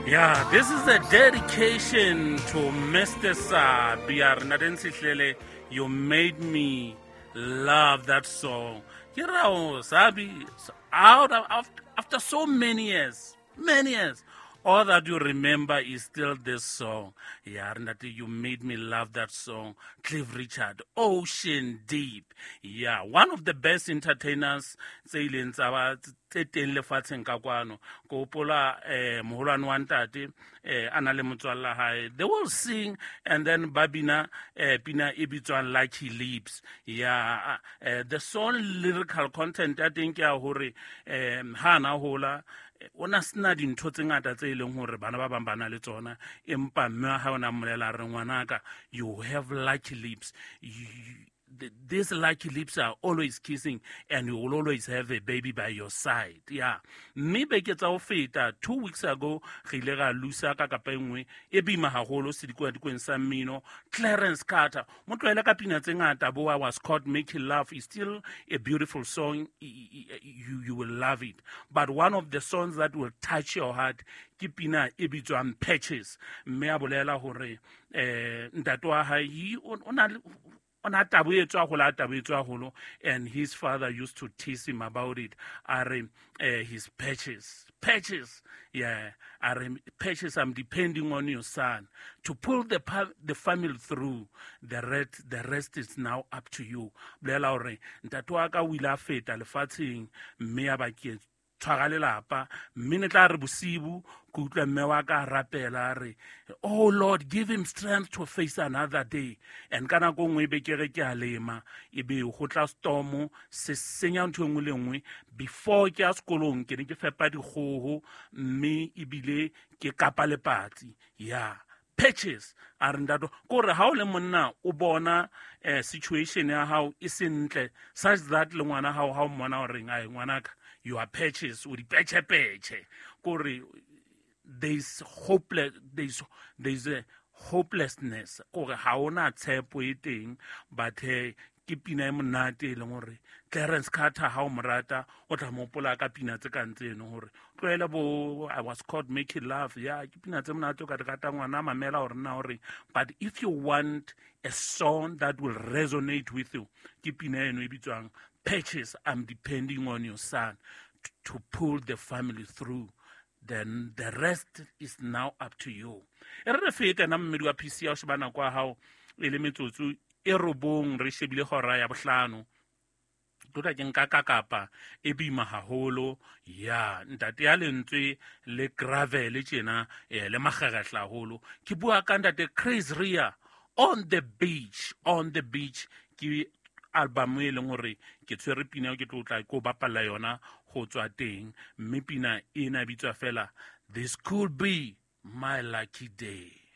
Yeah, this is a dedication to Mr. Sabi. Ntate, you made me love that song. Ke rao Sabi, out of, after so many years, all that you remember is still this song. Yeah, ntate, you made me love that song. Cliff Richard, "Ocean Deep." Yeah, one of the best entertainers tse ileng tsa ba tse teng lefatsheng ka kwano. Ke hopola moholwane wa ntate a na le motswalla hae. They will sing and then ba bina pina e bitswang "Lucky Lips." Yeah, the song lyrical content ya teng ke ya hore ha na hola, o na sena dintho tse ngata tse e leng hore bana ba bang ba na le tsona, empa mme wa hae o na mmolela re, "Ngwanaka, you have lucky lips. These lucky lips are always kissing and you will always have a baby by your side." Yeah, mme beke tsa ho feta, 2 weeks ago, re ile ra lusa ka kapa e nngwe e boima haholo sedikwadikweni sa mmino, Clarence Carter. Mo tlohele ka pina tse ngata bo "I Was Caught Making Love" is still a beautiful song. You will love it, but one of the songs that will touch your heart ke pina e bitswang "Patches". Mme a bolela hore ntate wa hae o na o na taboetswe haholo, a taboetswe haholo, and his father used to tease him about it. A re his patches, patches, yeah, a re, "Patches, I'm depending on your son to pull the family through. The rest is now up to you." Bolela hore ntate wa ka o ile a feta lefatsheng, mme ya ba ke tshwara lelapa, mme ne tla re bosibu ke utlwa mme wa ka a rapela, a re, "Oh Lord, give him strength to face another day." And ka nako nngwe e be ke re ke a lema, e be go tla stormo se senya ntho e nngwe le nngwe. Before ke ya sekolong, ke ne ke fepa dikgoho, mme ebile ke kapa lepatsi. Ya Patches a re ntate kore ha o le monna o bona situation ya hao e sentle such that le ngwana hao ha o mmona horeng, ai ngwanaka, you are patches, o di petšhe-petšhe, kore there's a hopelessness, kore ha ona tshepo e teng. But ke pina e monate e leng hore Clarence Carter, ha o mo rata, o tla mo hopola ka pina tse kang tseno, hore tlohele bo "I Was Caught Making Love". Ya, ke pina tse monate o ka di rata, ngwana mamela hore na hore. But if you want a song that will resonate with you, ke pina eno e bitswang "Patches, I'm Depending on Your Son to Pull the Family Through. Then the Rest Is Now Up to You." E re re fete na mmedi wa PC ya o sheba nako ya hao e le metsotso e 9 re shebile hora ya bohlano. Tlo ke nka ka kapa e boima haholo ya ntate ya lentswe le gravel tjena, le makgerehla haholo. Ke bua ka ntate Chris Rea, "On the Beach". "On the Beach" ke album e leng hore ke tshwere pina eo ke tlo tla ko bapalla yona ho tswa teng, mme pina ena bitswa fela "This Could Be My Lucky Day".